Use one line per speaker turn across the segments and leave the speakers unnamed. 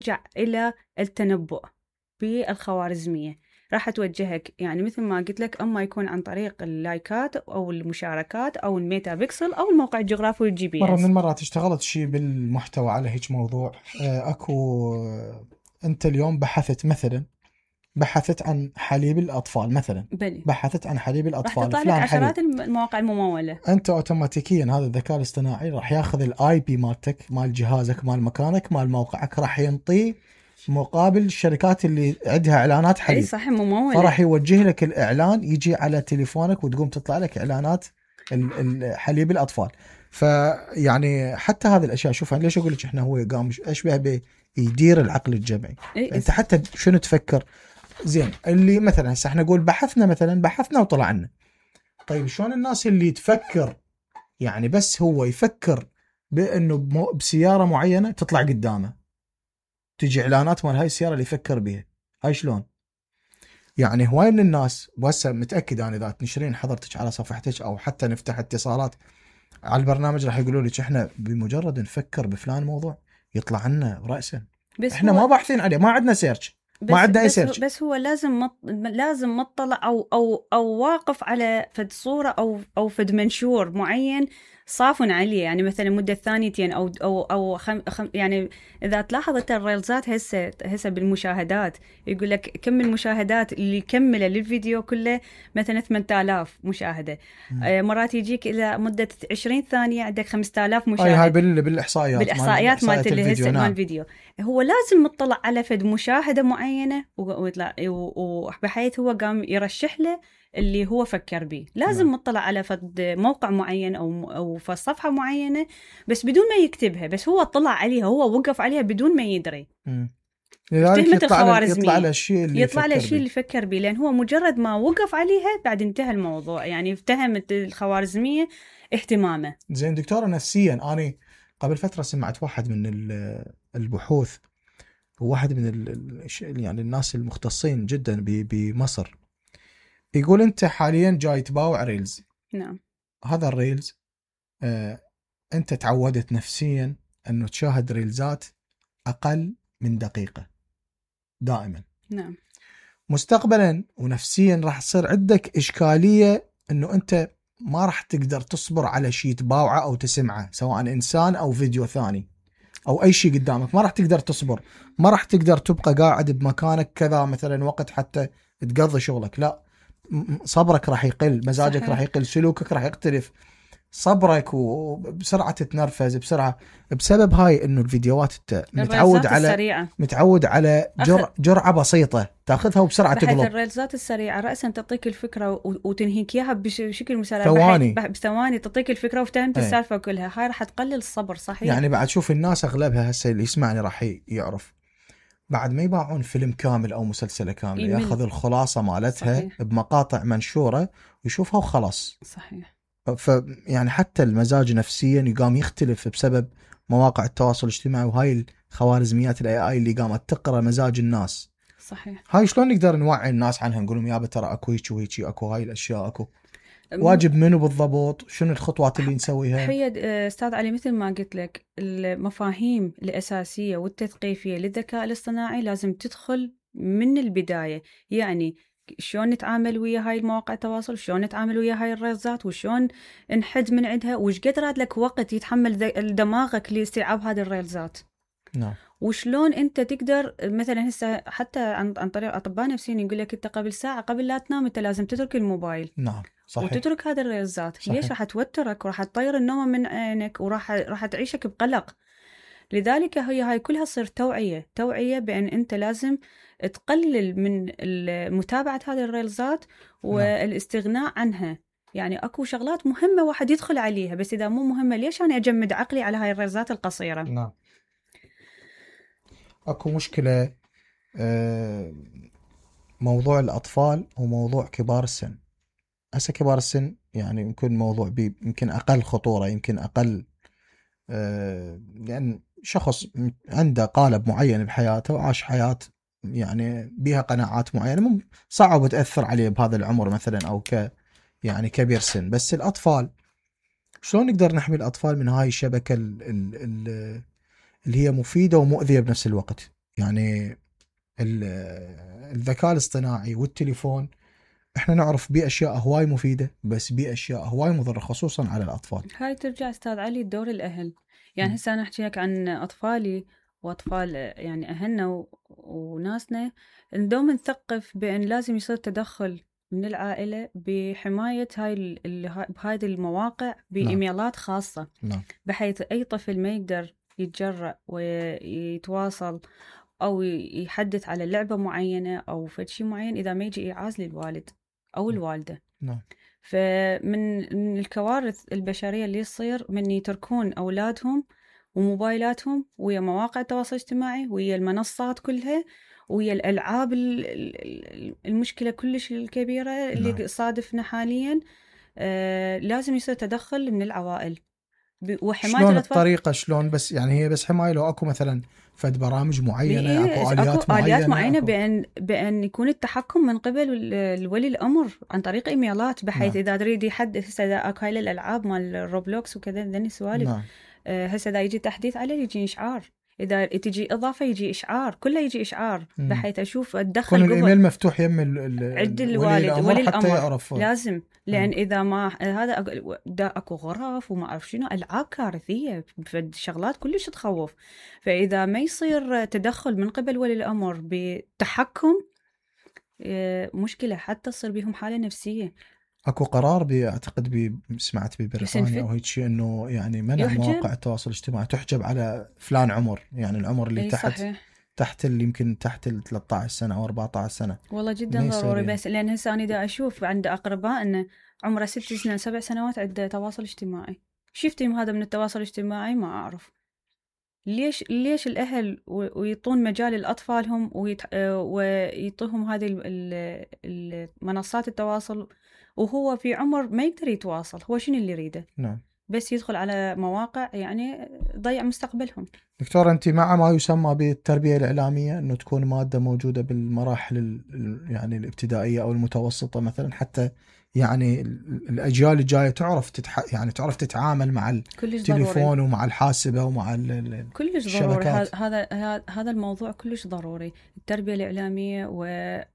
ترجع إلى التنبؤ بالخوارزمية. راح توجهك يعني مثل ما قلت لك، أما يكون عن طريق اللايكات أو المشاركات أو الميتا بيكسل أو الموقع الجغرافي والجي بي
مرة
اس.
من المرات اشتغلت شيء بالمحتوى على هيك موضوع. أكو أنت اليوم بحثت عن حليب الأطفال مثلا،
بلي.
بحثت عن حليب
راح
الأطفال
تطلع لك
فلان
عشرات
حليب.
المواقع الممولة.
أنت أوتوماتيكيا هذا الذكاء الاصطناعي راح ياخذ الاي بي مالتك، مال جهازك، مال مكانك، مال موقعك، راح ينطيه مقابل الشركات اللي عندها إعلانات حليب.
أي صح، ممولة.
فراح يوجه لك الإعلان يجي على تليفونك وتقوم تطلع لك إعلانات حليب الأطفال. فيعني حتى هذه الأشياء، شوف أنا ليش أقول لك إحنا هو قام أشبه يدير العقل الجمعي. أنت حتى شنو تفكر زين، اللي مثلا هسه احنا نقول بحثنا وطلع لنا. طيب شلون الناس اللي تفكر يعني بس هو يفكر بأنه بسيارة معينة تطلع قدامه تجي إعلانات مال هاي السيارة اللي يفكر بها، هاي شلون؟ يعني هواي من الناس، وهسه متأكد أنا إذا تنشرين حضرتك على صفحتك أو حتى نفتح اتصالات على البرنامج راح يقولوا لك إحنا بمجرد نفكر بفلان موضوع يطلع لنا رأسا. إحنا ما باحثين عليه، ما عندنا سيرش، ما عندنا أي سيرش.
بس هو لازم مطلع أو واقف على فد صورة أو فد منشور معين صافن عليه. يعني مثلا مدة ثانيتين أو يعني إذا تلاحظ الريلزات هسه بالمشاهدات يقول لك كم المشاهدات اللي كمله للفيديو كله مثلا 8000 مشاهدة. مرات يجيك إلى مدة 20 ثانية عندك 5000 مشاهدة.
هاي بالإحصائيات
مالت
الفيديو.
مال الفيديو. هو لازم مطلع على فد مشاهدة معينة وبحيث هو قام يرشح له اللي هو فكر به. لازم مطلع على فد موقع معين أو فد صفحة معينة بس بدون ما يكتبها، بس هو طلع عليها، هو وقف عليها بدون ما يدري.
لذلك يطلع له الشيء اللي
يفكر به، لأن هو مجرد ما وقف عليها بعد انتهى الموضوع. يعني افتهمت الخوارزمية اهتمامه.
زين دكتورة، نفسيا أنا قبل فترة سمعت واحد من البحوث، وواحد من يعني الناس المختصين جدا بمصر، يقول أنت حاليا جاي تباوع ريلز.
نعم.
هذا الريلز أنت تعودت نفسيا أنه تشاهد ريلزات أقل من دقيقة دائما.
نعم.
مستقبلا ونفسيا راح تصير عندك إشكالية أنه أنت ما راح تقدر تصبر على شيء تباوعه أو تسمعه، سواء إنسان أو فيديو ثاني أو أي شيء قدامك، ما راح تقدر تصبر، ما راح تقدر تبقى قاعد بمكانك كذا مثلا وقت حتى تقضي شغلك. لا، صبرك راح يقل، مزاجك
صحيح.
راح يقل، سلوكك راح يختلف، صبرك وبسرعة تتنرفز بسرعة بسبب هاي انه الفيديوهات متعود على جرعة بسيطة تاخذها وبسرعة تقلب.
الريلزات السريعة رأسا تعطيك الفكرة وتنهيك اياها بشكل مسارع بثواني تعطيك الفكرة وفتهمت السالفة كلها. هاي راح تقلل الصبر. صحيح.
يعني بعد شوف الناس اغلبها هسه اللي يسمعني راح يعرف بعد ما يباعون فيلم كامل او مسلسلة كاملة ياخذ الخلاصة مالتها. صحيح. بمقاطع منشورة ويشوفها وخلاص.
صحيح.
يعني حتى المزاج نفسيا يقام يختلف بسبب مواقع التواصل الاجتماعي وهاي الخوارزميات الاي اي اللي قامت تقرا مزاج الناس.
صحيح.
هاي شلون نقدر نوعي الناس عنها، نقول لهم يابا ترى اكو هيك وهيك، اكو هاي الاشياء، اكو واجب منو بالضبط، شنو الخطوات اللي نسويها؟
حيد استاذ علي، مثل ما قلت لك المفاهيم الاساسيه والتثقيفيه للذكاء الاصطناعي لازم تدخل من البدايه. يعني شلون نتعامل ويا هاي المواقع التواصل، شلون نتعامل ويا هاي الريلزات، وشلون نحد من عندها، وش قد راد لك وقت يتحمل دماغك لاستيعاب هذه الريلزات.
نعم.
وشلون انت تقدر مثلا هسه حتى عن طريق اطباء نفسيين يقول لك انت قبل ساعه قبل لا تنام انت لازم تترك الموبايل.
نعم. صحيح.
وتترك هذه الريلزات. ليش؟ راح توترك وراح تطير النوم من عينك وراح تعيشك بقلق. لذلك هاي كلها تصير توعية بأن أنت لازم تقلل من متابعة هذه الريلزات والاستغناء عنها. يعني أكو شغلات مهمة واحد يدخل عليها، بس إذا مو مهمة ليش أنا أجمد عقلي على هاي الريلزات القصيرة؟
نعم. أكو مشكلة موضوع الأطفال وموضوع كبار السن. هسه كبار السن يعني يمكن موضوع يمكن أقل خطورة، يمكن أقل لأن شخص عنده قالب معين بحياته وعاش حياة يعني بها قناعات معينة صعب تأثر عليه بهذا العمر مثلا أو يعني كبير سن. بس الأطفال شلون نقدر نحمي الأطفال من هاي الشبكة اللي هي مفيدة ومؤذية بنفس الوقت؟ يعني الذكاء الاصطناعي والتليفون احنا نعرف بيه اشياء هواي مفيده، بس بيه اشياء هواي مضره خصوصا على الاطفال.
هاي ترجع استاذ علي دور الاهل. يعني هسه انا احكي لك عن اطفالي واطفال يعني اهلنا وناسنا، ندوم نثقف بان لازم يصير تدخل من العائله بحمايه بهذه المواقع بايميلات خاصه.
نعم.
بحيث اي طفل ما يقدر يتجرأ ويتواصل او يحدث على لعبه معينه او فد شيء معين اذا ما يجي ايعاز للوالد او الوالده.
نعم.
فمن الكوارث البشرية اللي تصير من يتركون أولادهم وموبايلاتهم ويا مواقع التواصل الاجتماعي ويا المنصات كلها ويا الألعاب المشكلة كلش الكبيرة اللي
نعم.
صادفنا حاليا. لازم يصير تدخل من العوائل وحماية
شلون
الأطفال.
الطريقة شلون؟ بس يعني هي بس حماية لو اكو مثلا فد برامج معينة، اكو
آليات معينة
أكو...
بأن يكون التحكم من قبل الولي الأمر عن طريق إيميلات، بحيث
نعم.
إذا تريد يحدث هسه إذا أكو هاي الألعاب مال روبلوكس وكذا ذني سوالف.
نعم.
هسه إذا يجي تحديث عليه يجي إشعار، إذا تجي إضافة يجي إشعار، كله يجي إشعار بحيث أشوف أتدخل
كل
قبل.
الإيميل مفتوح يم
عند الوالد ولي الأمر
حتى يعرف.
لازم، لأن إذا ما هذا أكو غرف وما أعرف شنو ألعاب كارثية في شغلات كلش تخوف. فإذا ما يصير تدخل من قبل ولي الأمر بتحكم مشكلة، حتى تصير بهم حالة نفسية.
اكو قرار اعتقد سمعت ببريطانيا او هيك شيء انه يعني منع مواقع التواصل الاجتماعي تحجب على فلان عمر، يعني العمر اللي تحت اللي يمكن تحت ال 13 سنه او 14 سنه.
والله جدا ضروري. بس لان هسه انا دا اشوف عند اقرباء انه عمره 6 سنين 7 سنوات عنده تواصل اجتماعي. شفتهم هذا من التواصل الاجتماعي ما اعرف ليش الاهل ويعطون مجال لاطفالهم ويعطوهم هذه المنصات التواصل وهو في عمر ما يقدر يتواصل. هو شنو اللي يريده؟
نعم.
بس يدخل على مواقع يعني ضيع مستقبلهم.
دكتور أنت مع ما يسمى بالتربية الإعلامية أنه تكون مادة موجودة بالمراحل يعني الابتدائية أو المتوسطة مثلا، حتى يعني الأجيال الجاية تعرف يعني تعرف تتعامل مع التليفون ومع الحاسبة ومع
كلش ضروري. هذا الموضوع كلش ضروري. التربية الإعلامية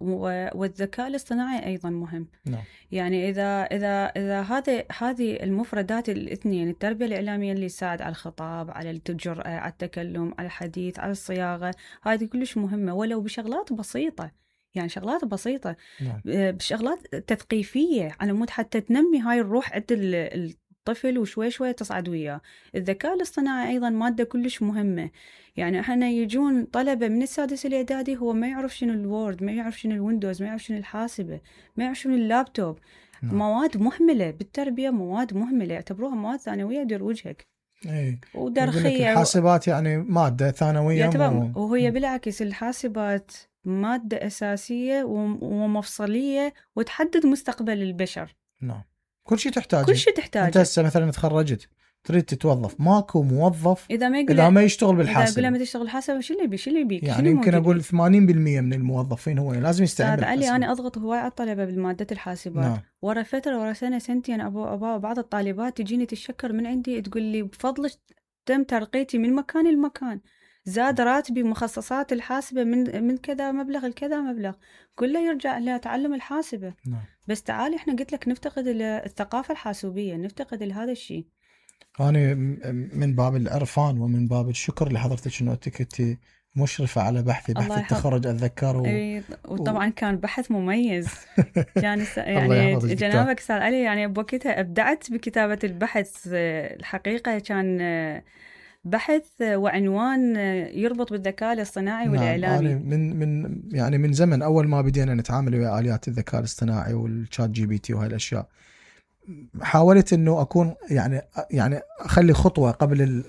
والذكاء الاصطناعي أيضا مهم.
نعم.
يعني إذا هذه المفردات الاثنين، التربية الإعلامية اللي تساعد على الخطاب، على الجرأة، على التكلم، على الحديث، على الصياغة، هذه كلش مهمة ولو بشغلات بسيطة. يعني شغلات بسيطة.
نعم.
بشغلات تثقيفية على مود حتى تنمي هاي الروح عند الطفل وشوي شوي تصعد وياه. الذكاء الاصطناعي أيضا مادة كلش مهمة. يعني احنا يجون طلبة من السادس الإعدادي هو ما يعرف شنو الوورد، ما يعرف شنو الويندوز، ما يعرف شنو الحاسبة، ما يعرف شنو اللابتوب.
نعم.
مواد مهملة بالتربية، مواد مهملة يعتبروها مواد ثانوية دير وجهك.
ايه.
ودرخية.
الحاسبات يعني مادة ثانوية
وهي بالعكس الحاسبات مادة أساسية ومفصلية وتحدد مستقبل البشر.
نعم. كل شيء تحتاجه. أنت هسه مثلا تخرجت تريد تتوظف، ماكو موظف إذا ما يشتغل بالحاسبة.
إذا ما تشتغل حاسبة شو اللي يبيك؟
يعني يمكن أقول 80% من الموظفين هو لازم يستعمل بالحاسبة.
علي أنا أضغط هواي على الطلبة بالمادة الحاسبات.
نعم.
ورا فترة ورا سنة سنتين بعض الطالبات تجيني تشكر من عندي تقول لي بفضلك تم ترقيتي من مكان لمكان، زاد راتبي مخصصات الحاسبة من كذا مبلغ لكذا مبلغ، كله يرجع لتعلم الحاسبة.
نعم.
بس تعالي احنا قلت لك نفتقد الثقافة الحاسوبية، نفتقد هذا الشيء.
أنا من باب العرفان ومن باب الشكر لحضرتك إنه كنتي مشرفة على بحث التخرج أتذكر
وطبعا كان بحث مميز. كان يعني جنابك استاذ علي يعني بوقتها أبدعت بكتابة البحث. الحقيقة كان بحث وعنوان يربط بالذكاء الاصطناعي والإعلامي.
يعني من زمن أول ما بدينا نتعامل ويا آليات الذكاء الاصطناعي والشات جي بي تي وهاي الأشياء، حاولت إنه أكون يعني أخلي خطوة قبل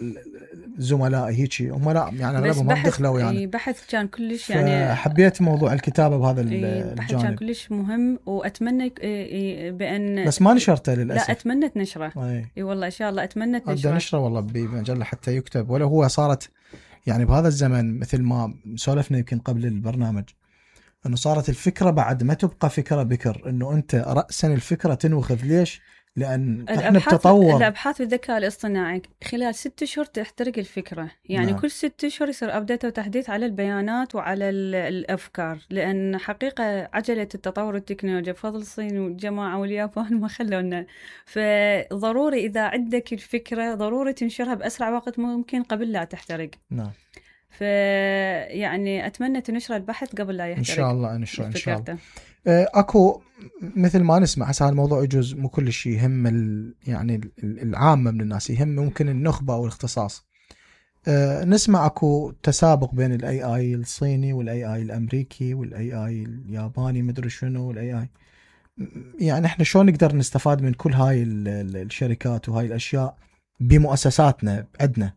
الزملاء هيك هم لا يعني أغلبهم ما دخلوا يعني.
بحث كان كلش يعني
حبيت موضوع الكتابة بهذا الجانب.
بحث كان كلش مهم وأتمنى بأن
بس ما نشرته للأسف.
لا أتمنى نشره. اي والله إن شاء الله أتمنى
نشره والله بمجلة حتى يكتب. ولا هو صارت يعني بهذا الزمن مثل ما سولفنا يمكن قبل البرنامج انه صارت الفكره بعد ما تبقى فكره بكر، انه انت راسا الفكره تنوخذ. ليش؟ لان احنا بتطور.
الابحاث بالذكاء الاصطناعي خلال 6 اشهر تحترق الفكره، يعني
نعم.
كل 6 اشهر يصير ابديت وتحديث على البيانات وعلى الافكار، لان حقيقه عجله التطور التكنولوجيا بفضل الصين والجماعه واليابان ما خلونا، فضروري اذا عندك الفكره ضروري تنشرها باسرع وقت ممكن قبل لا تحترق.
نعم.
يعني اتمنى تنشر البحث قبل لا يحترق.
ان شاء الله انشر ان شاء الله. اكو مثل ما نسمع هسه الموضوع يجوز مو كل شيء يهم يعني العامه من الناس، يهم ممكن النخبه او الاختصاص. نسمع اكو تسابق بين الاي اي الصيني والاي اي الامريكي والاي اي الياباني مدري شنو والاي اي. يعني احنا شلون نقدر نستفاد من كل هاي الشركات وهاي الاشياء بمؤسساتنا عندنا؟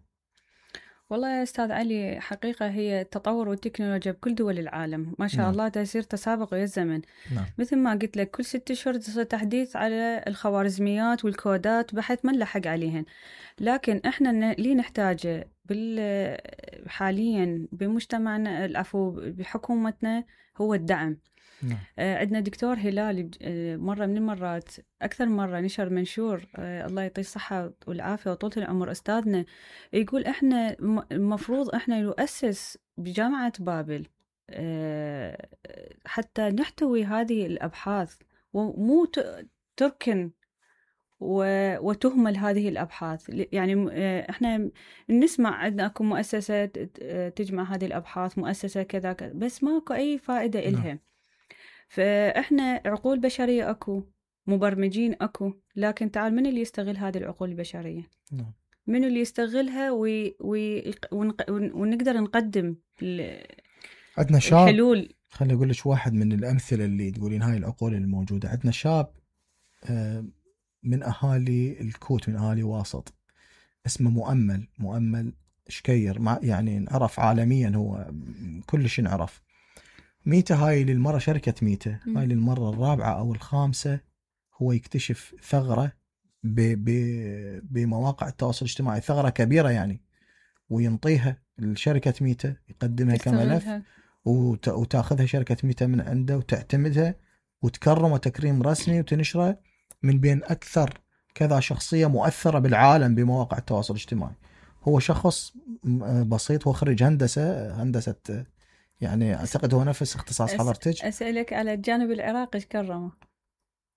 والله يا أستاذ علي، حقيقة هي التطور والتكنولوجيا بكل دول العالم ما شاء
نعم.
الله تصير تسابق ويا الزمن.
نعم.
مثل ما قلت لك كل 6 أشهر تصير تحديث على الخوارزميات والكودات بحيث ما نلحق عليهن. لكن احنا اللي نحتاجه حاليا بمجتمعنا العفو بحكومتنا هو الدعم.
نعم.
عندنا دكتور هلال مرة من المرات أكثر مرة نشر منشور، الله يعطيه الصحة والعافية وطولة العمر أستاذنا، يقول إحنا المفروض إحنا نؤسس بجامعة بابل حتى نحتوي هذه الأبحاث ومو تركن وتهمل هذه الأبحاث. يعني إحنا نسمع عندنا أكو مؤسسة تجمع هذه الأبحاث، مؤسسة كذا كذا، بس ماكو أي فائدة إلها. فإحنا عقول بشرية أكو، مبرمجين أكو، لكن تعال من اللي يستغل هذه العقول البشرية؟ من اللي يستغلها ونقدر نقدم
عندنا شاب.
الحلول.
خليني أقول لك واحد من الأمثلة اللي تقولين هاي العقول الموجودة. عندنا شاب من أهالي الكوت، من أهالي واسط، اسمه مؤمل شكير، يعني نعرف عالميا، هو كل شيء نعرف. ميتا هاي للمرة شركة ميتا هاي للمرة الرابعة أو الخامسة هو يكتشف ثغرة بمواقع التواصل الاجتماعي، ثغرة كبيرة يعني، وينطيها لشركة ميتا يقدمها كملف وتاخذها شركة ميتا من عنده وتعتمدها وتكرمه تكريم رسمي وتنشره من بين أكثر كذا شخصية مؤثرة بالعالم بمواقع التواصل الاجتماعي. هو شخص بسيط، هو خريج هندسة يعني أعتقد هو نفس اختصاص حضرتك.
أسألك على الجانب العراقي ايش كرمه؟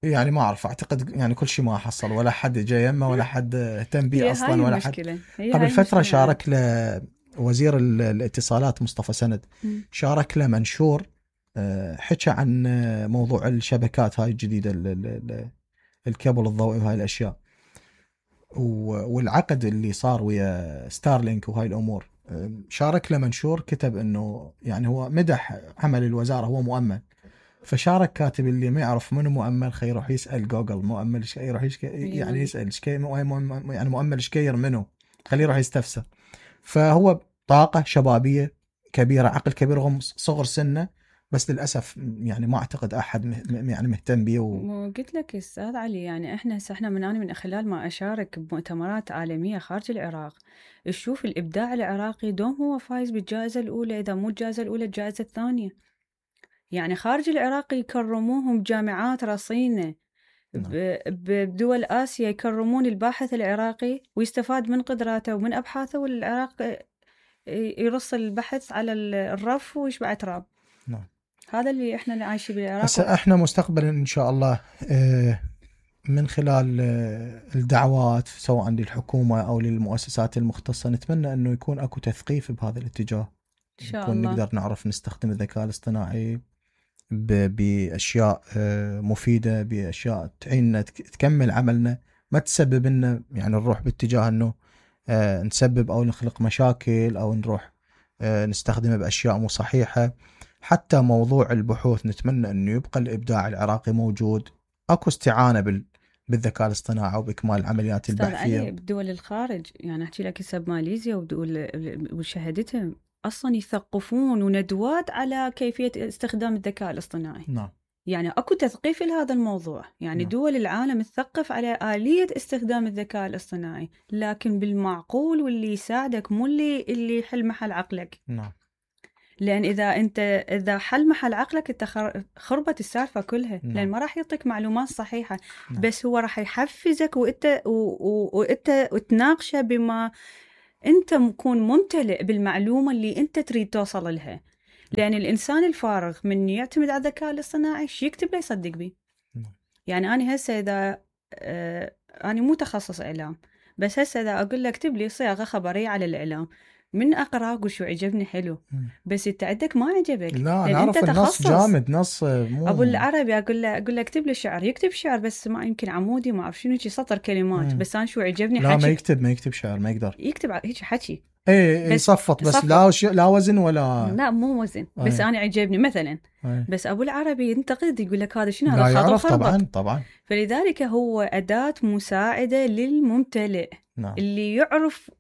يعني ما أعرف، أعتقد يعني كل شيء ما حصل، ولا حد جاي يمه ولا حد اهتم به أصلا ولا حد. قبل فترة شارك له وزير الاتصالات مصطفى سند، شارك له منشور حكى عن موضوع الشبكات هاي الجديدة، الكابل الضوئي وهاي الأشياء، والعقد اللي صار ويا ستارلينك وهاي الأمور. شارك له منشور كتب انه يعني هو مدح عمل الوزارة، هو مؤمل. فشارك كاتب اللي ما يعرف منو مؤمل خي يروح يسأل جوجل مؤمل يروح يعني يسأل يعني مؤمل شكير منو، خليه يروح يستفسر. فهو طاقة شبابية كبيرة، عقل كبير رغم صغر سنه، بس للأسف يعني ما أعتقد أحد يعني مهتم به.
قلت لك أستاذ علي، يعني إحنا من خلال ما أشارك بمؤتمرات عالمية خارج العراق، تشوف الإبداع العراقي دوم هو فايز بالجائزة الأولى، إذا مو الجائزة الأولى الجائزة الثانية. يعني خارج العراق يكرموهم بجامعات رصينة، بدول آسيا يكرمون الباحث العراقي ويستفاد من قدراته ومن أبحاثه، والعراق يرص البحث على الرف ويشبع تراب.
نعم.
هذا اللي احنا عايشين بالعراق.
هسه احنا مستقبلا ان شاء الله من خلال الدعوات سواء للحكومة او للمؤسسات المختصة، نتمنى انه يكون اكو تثقيف بهذا الاتجاه،
ان شاء الله
نقدر نعرف نستخدم الذكاء الاصطناعي باشياء مفيدة، باشياء تعيننا تكمل عملنا، ما تسبب لنا يعني نروح باتجاه انه نسبب او نخلق مشاكل او نروح نستخدمه باشياء مو صحيحة. حتى موضوع البحوث نتمنى انه يبقى الابداع العراقي موجود، اكو استعانة بالذكاء الاصطناعي وباكمال العمليات البحثية.
بدول الخارج يعني احكي لك هسه بماليزيا ودول وشهدتهم اصلا يثقفون وندوات على كيفية استخدام الذكاء الاصطناعي.
نعم.
يعني اكو تثقيف لهذا الموضوع، يعني
نعم.
دول العالم تثقف على آلية استخدام الذكاء الاصطناعي، لكن بالمعقول واللي يساعدك، مو اللي يحل محل عقلك.
نعم.
لان اذا حل محل عقلك انت خربت السالفه كلها.
نعم.
لان ما راح يعطيك معلومات صحيحه.
نعم.
بس هو راح يحفزك وانت وتناقشه بما انت تكون ممتلئ بالمعلومه اللي انت تريد توصل لها. لان الانسان الفارغ من يعتمد على الذكاء الاصطناعي شو يكتب له يصدق بيه. يعني انا هسه اذا انا مو تخصص اعلام، بس هسه اذا اقول لك اكتب لي صياغه خبريه على الاعلام، من اقرا اقول شو عجبني حلو. بس انت عندك ما عجبك.
لا انا اعرف النص جامد، نص مو
ابو العربي اقول له اكتب لي شعر، يكتب شعر بس ما يمكن عمودي ما اعرف شنو شي سطر كلمات. بس انا شو عجبني
لا
حكي.
ما يكتب شعر، ما يقدر
يكتب هيك حكي.
ايه يصفط بس لا وزن ولا
لا مو وزن. بس انا عجبني مثلا. بس ابو العربي ينتقد يقول لك هذا شنو، هذا
لا يعرف
خربط.
طبعا.
فلذلك هو أداة مساعدة للممتلئ.
نعم.
اللي يعرف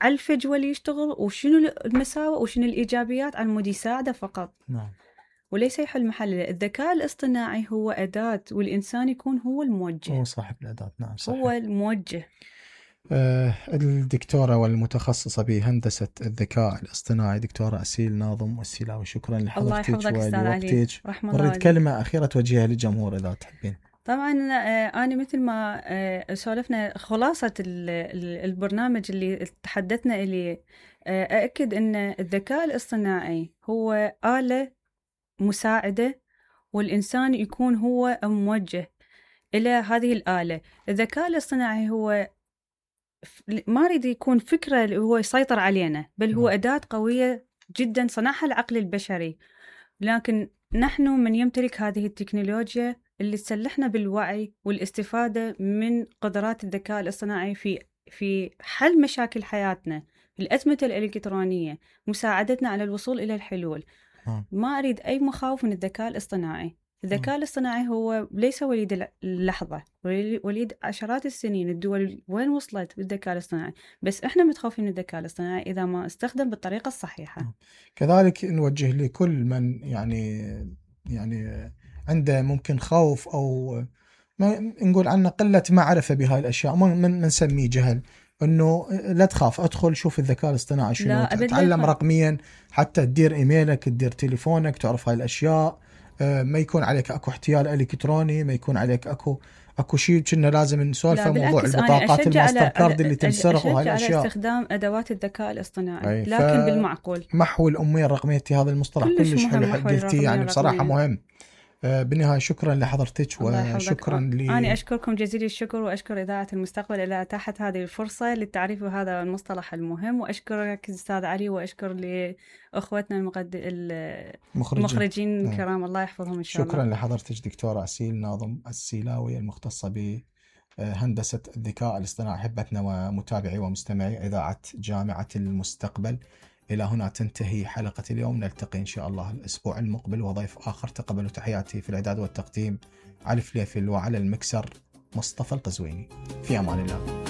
على الفجوة اللي يشتغل وشنو المساوئ وشنو الإيجابيات على مود يساعده فقط.
نعم.
وليس يحل محله. الذكاء الاصطناعي هو أداة والإنسان يكون هو الموجه.
هو صاحب الأداة. نعم صحيح.
هو الموجه.
الدكتورة والمتخصصة بهندسة الذكاء الاصطناعي دكتورة أسيل ناظم السيلاوي، شكرا لحضرتك ولوقتك. نريد كلمة أخيرة توجهها للجمهور إذا تحبين.
طبعا أنا مثل ما سولفنا خلاصة البرنامج اللي تحدثنا إليه، أأكد أن الذكاء الاصطناعي هو آلة مساعدة والإنسان يكون هو موجه إلى هذه الآلة. الذكاء الاصطناعي هو ما يريد يكون فكرة اللي هو يسيطر علينا، بل هو أداة قوية جدا صنعها العقل البشري. لكن نحن من يمتلك هذه التكنولوجيا اللي تسلحنا بالوعي والاستفادة من قدرات الذكاء الاصطناعي في حل مشاكل حياتنا، الأزمة الإلكترونية، مساعدتنا على الوصول إلى الحلول. ما أريد أي مخاوف من الذكاء الاصطناعي. الذكاء الاصطناعي هو ليس وليد اللحظة، وليد عشرات السنين. الدول وين وصلت بالذكاء الاصطناعي؟ بس إحنا متخوفين من الذكاء الاصطناعي إذا ما استخدم بالطريقة الصحيحة.
كذلك نوجه لكل من يعني عنده ممكن خوف أو ما نقول عنه قلة معرفة بهاي الأشياء، ما نسميه جهل، انه لا تخاف، ادخل شوف الذكاء الاصطناعي شنو، تتعلم رقميا حتى تدير ايميلك، تدير تليفونك، تعرف هاي الاشياء. ما يكون عليك اكو احتيال الكتروني، ما يكون عليك اكو شيء كنا لازم نسولف موضوع البطاقات الماستر كارد اللي تنسرق وهاي الاشياء.
على استخدام ادوات الذكاء الاصطناعي لكن بالمعقول.
محو الاميه الرقميه، هذا المصطلح كلش حلو قلتي، يعني بصراحه مهم. بالنهاية شكرا لحضرتك وشكرا
أنا أشكركم جزيل الشكر، وأشكر إذاعة المستقبل اللي أتاحت هذه الفرصة للتعريف بهذا المصطلح المهم، وأشكرك أستاذ علي، وأشكر لأخوتنا المخرجين الكرام. الله يحفظهم إن شاء الله.
شكرا لحضرتك دكتورة أسيل ناظم السيلاوي المختصة بهندسة الذكاء الاصطناعي. أحبتنا ومتابعي ومستمعي إذاعة جامعة المستقبل، إلى هنا تنتهي حلقة اليوم. نلتقي إن شاء الله الأسبوع المقبل وضيف آخر. تقبلوا تحياتي في الإعداد والتقديم علي فليفل، وعلى المكسر مصطفى القزويني. في أمان الله.